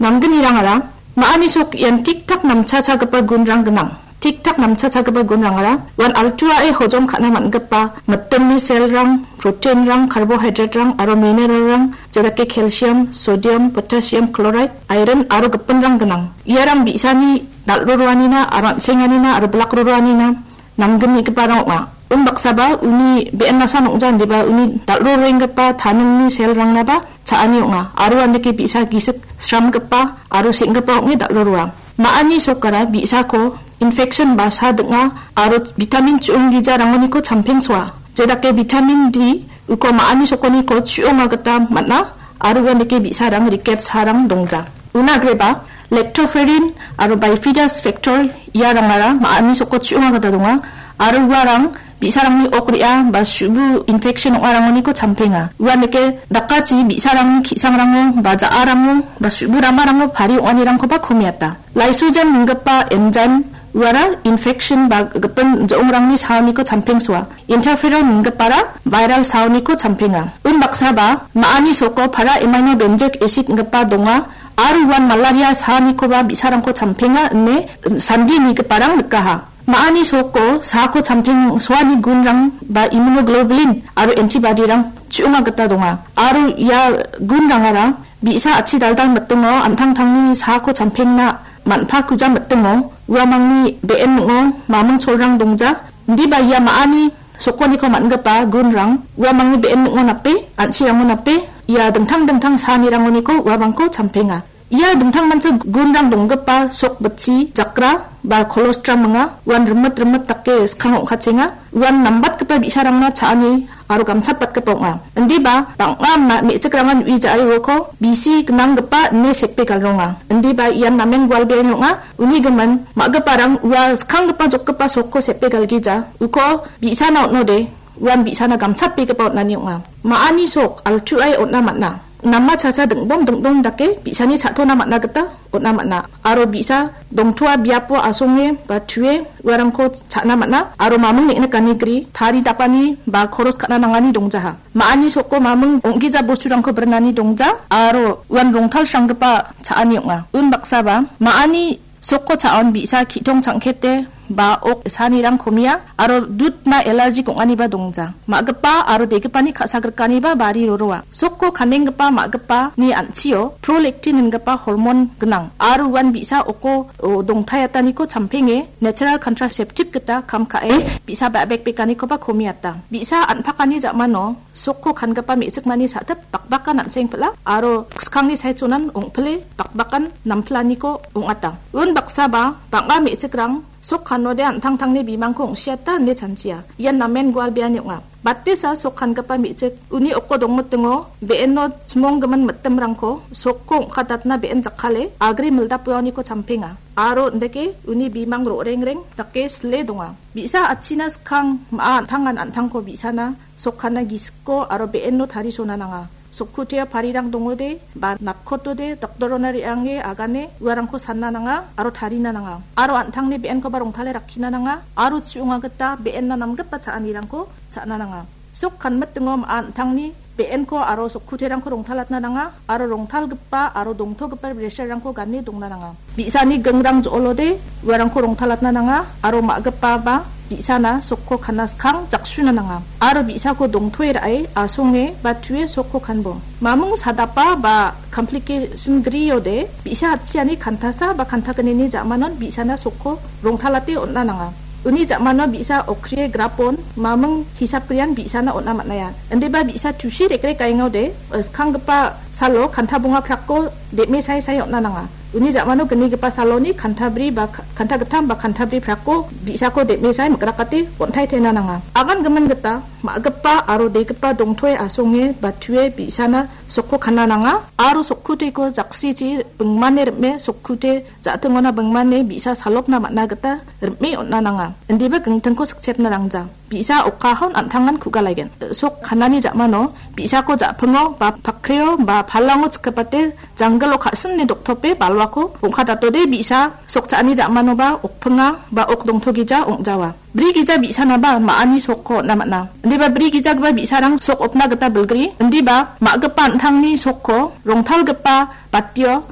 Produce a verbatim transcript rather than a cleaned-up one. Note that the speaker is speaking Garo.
Namgnirangara ma·ani sok ian tik-tak namchachagipa gunrang gnang. Tik-tak namchachagipa gunrangara uan altuae hojom ka·na man·gipa mitimni selrang, proteinrang, carbohydraterang aro mineralrang, jedake calcium, sodium, potassium chloride, iron aro gipinrang gnang. Iarang bi·sani dal·roroanina aro an·senganina aro bilakroroanina namgnigiparang ong·a. Unbaksaba uni be·en nasan ong·ja indiba uni dal·rorenggipa taningni selrangnaba cha·ani ong·a. Aro andake bi·sa gisik sramgipa aro seng·gipa ong·e dal·roroa. Ma·ani sokara bi·sako infection ba sa ding·a aro vitamin chu·ong gijarangoniko champengsoa. Jedake vitamin D uko ma·ani sokoniko chu·onga gita man·a aro uandake bi·sarang riket sarang dongja. Una agreba lactoferrin aro bifidus factor iarangara ma·ani soko chu·onga gita donga aro uarang bi·sarangni ok re·a ba su·bu infection ong·arangoniko champenga. Uandake dakachi bi·sarangni ki·sangrango ba ja·arango ba su·bu ramarango pari ong·anirangkoba komiata. Lysozyme minggipa enzyme uara infection ba gipin jo·ongrangni saoniko champengsoa. Interferon minggipara viral saoniko champenga. Unbaksaba ma·ani soko para amino benzoic acid inggipa donga aro uan malaria saonikoba bi·sarangko champenga ine sandi nigiparang nikaha. Ma·ani soko saako champengsoani gunrang ba immunoglobulin aro antibody-rang chu·onga gita donga. Aro ia gunrangara bi·sa achi daldal mitingo an·tangtangni saako champengna man·pakuja mitingo uamangni be·en ning·o maming cholrang dongja. Indiba ia ma·ani sokoniko man·gipa gunrang uamangni be·en ning·o nape, an·chirango nape, ia dingtang dingtang saanirangoniko uamangko champenga. Ia dingtangmancha gunrang donggipa sok bitchi jakra ba colostrum ong·a. Uan rimit rimit dake skang ong·kachenga. Uan nambatgipa bi·sarangna cha·ani aro gamchatbatgipa ong·a. Indiba bang·a ma-, me·chikrangan ui ja·e uako bisi gnanggipa ine sepe galronga. Indiba ian namen gualbeani ong·a. Uni gimin ma·giparang ua skanggipa jokgipa sokko sepe galgija. Uko bi·sana on·ode, uan bi·sana gamchatbegipa on·ani ong·a. Ma·ani sok altuae on·a man·a. Nama chacha ding·bom ding·dong dake bi·sani cha·tona man·a gita on·a man·a. Aro bi·sa dongtoa biapo asonge ba tue uarangko cha·na man·a. Aro maming neng·nikani gri tari dapani ba koros ka·na nangani dongjaha. Ma·ani soko maming ong·gija bosturangko brinani dongja aro uan rongtalsranggipa cha·ani ong·a. Unbaksaba ma·ani soko cha·on bi·sa ki·tong changkete ba ok sanirang komia aro dudna allergic ong·aniba dongja. Ma·gipa aro degipani ka·sagrikaniba bari roroa. Soko kanenggipa ma·gipani an·chio prolactin ingipa hormon gnang aro uan bi·sa oko, o, dongtaiataniko champenge natural contraceptive gita kam ka·e bi·sa ba-, bekbekanikoba komiata. Bi·sa an·pakani ja·mano sokko kangipa me·chikmani sa·tip bakbakan an·seng pil·a aro skangni saichonan ong·pile bakbakan nampilaniko ong·ata. Unbaksaba bang·a me·chikrang sok kanode an·tangtangni bimangko ong·siata ine chanchia. Ian namen gualbeani ong·a. Batesa sok kangipa me·chik uni oko dongmitingo be·eno chimonggimin mitimrangko sokko ong·katatna be·en jakkale agri mildapuaoniko champenga. Aro indake uni bimang ro·rengreng dake sile donga. Bi·sa atchina skang ma·a an·tangan an·tangko bi·sana sokkanna gisikko aro be·eno tarisona nanga. Sokkuteo parirang dongode ba napkotode doktorona re·ange agane uarangko sanna nanga aro tarina nanga. Aro an·tangni be·enkoba rongtale rakkina nanga aro chu·onga gita be·enna namgipa cha·anirangko cha·na nanga. Sok kanmitingo ma·a an·tangni be·enko aro sokkuterangko rongtalatna nanga aro rongtalgipa aro dongtogipa bresarrangko gane dongna nanga. Bi·sani gingrang jo·olode uarangko rongtalatna nanga aro ma·gipa ba bi·sana sokko kana skang jaksuna nanga aro bi·sako dongtoe ra·e asonge ba tue sokko kanbo. Mamung sadapa ba complication griode bi·sa atchiani kantasa ba kantagnini ja·manon bi·sana sokko rongtalate on·na nanga. Uni ja·mano bi·sa okrie grapon mamung hisap grian bi·sana on·a man·aia. Indiba bi·sa tusi rekrek aengode, eh, skanggipa salo kanta bonga prakko dem·e sai sai on·a nanga. Uni ja·mano gnigipa saloni kanta bri ba ka-, kanta gittam ba kanta bri prakko bi·sako dem·e sai mikrakate on·taitena nanga. Agan gimin gita ma·gipa aro degipa dongtoe asonge ba tue bi·sana sokko kana nanga aro sokkuteko jaksichi bingmane rim·e sokkute ja·tingona bingmane bi·sa salokna man·a gita rim·e on·a nanga. Indiba gingtingko sikchepna nangja. Bi·sa okahon an·tangan ku·galaigen. Sok kanani ja·mano bi·sako ja·pingo ba pakreo ba palango chikgipate janggilo ka·sine doktope balwako ong·katatode bi·sa sok cha·ani ja·manoba okpinga ba ok dongtogija ong·jawa. Bri gija bi·sanaba ma·ani sokko on·a man·a. Indiba bri gijagipa bi·sarang sok opna gita bilgri. Indiba ma·gipa an·tangni sokko rongtalgipa batio